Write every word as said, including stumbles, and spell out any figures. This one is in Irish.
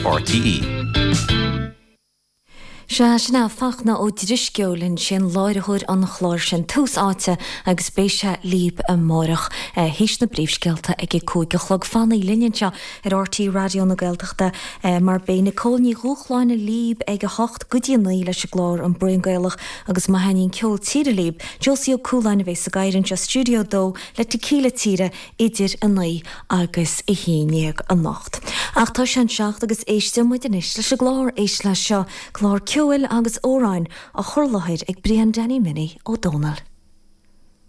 RTE. Sea sin é Fachtna Ó Drisceoil ansin láithreoir an chláir sin Tús Áite agus beidh sé libh amárach théis na bpríomhscéalta ag a cúig a chlog fanaigí linn anseo ar RTÉ Raidió na Gaeltachta mar beidh Nicole Ní Dhúshláine libh ag a hocht go dtí naoi leis an gclár an Braon Gaelach agus má thaitníonn ceol tíre libh, Josie Ó Cúláin a bheidh sa gcathaoir anseo Stiúideo dó le Tequila Tíre idir a naoi agus a haon déag anocht. Ach tá sé an seacht agus éisteoidh muid anois leis an gclár Éist Leis Seo, clár ceoil agus amhráin á chur i láthair ag Brian Danny Minnie Ó Dónaill.